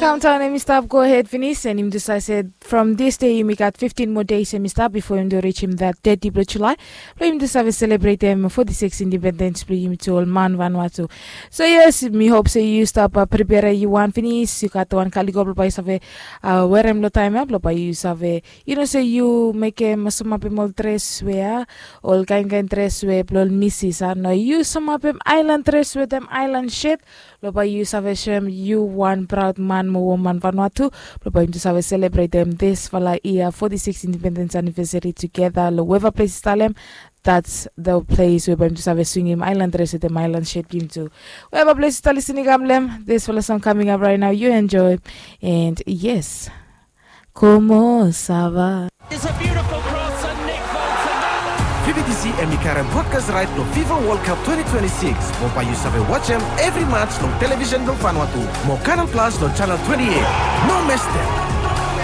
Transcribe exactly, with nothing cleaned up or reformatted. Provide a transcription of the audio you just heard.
Kauntaun em i stap go hed finis, and yumi tu save se from this day yumi gat fiftin moa days em i stap bifo yumi tu rijim that thirty blong Julai, blong yumi tu save selebretem forty six independens blong yumi tu ol man Vanuatu. So yes, mi hop se yu stap prepare yu wan finis, yu gat wan kaliko blong bae yu save werem long taem ya blong bae yu save, yu no se yu mekem samapem ol dres we a ol kaen kaen dres we blong ol misis a, no, yu samapem aelan dres wetem aelan shet, blong bae yu save soem yu wan praod man mo woman Vanuatu, blong bae yumi tu save selebretem disfala yia forty six independens anivesari tugeta long weva ples i talem. That's the place we bae yumi tu save swingim aelan dres wetem aelan shet blong yumi tu. Weva ples i talisin i kam long em, disfala song coming up right now, yu enjoy. And yes, komo sava. Vividisi em i karem brodkas raet blong Fifa Wol Kap twenty twenty six, mo bae yu save wajem evri mats long televisen blong Vanuatu mo Kanal Plas long janel twenty eight. No mestem.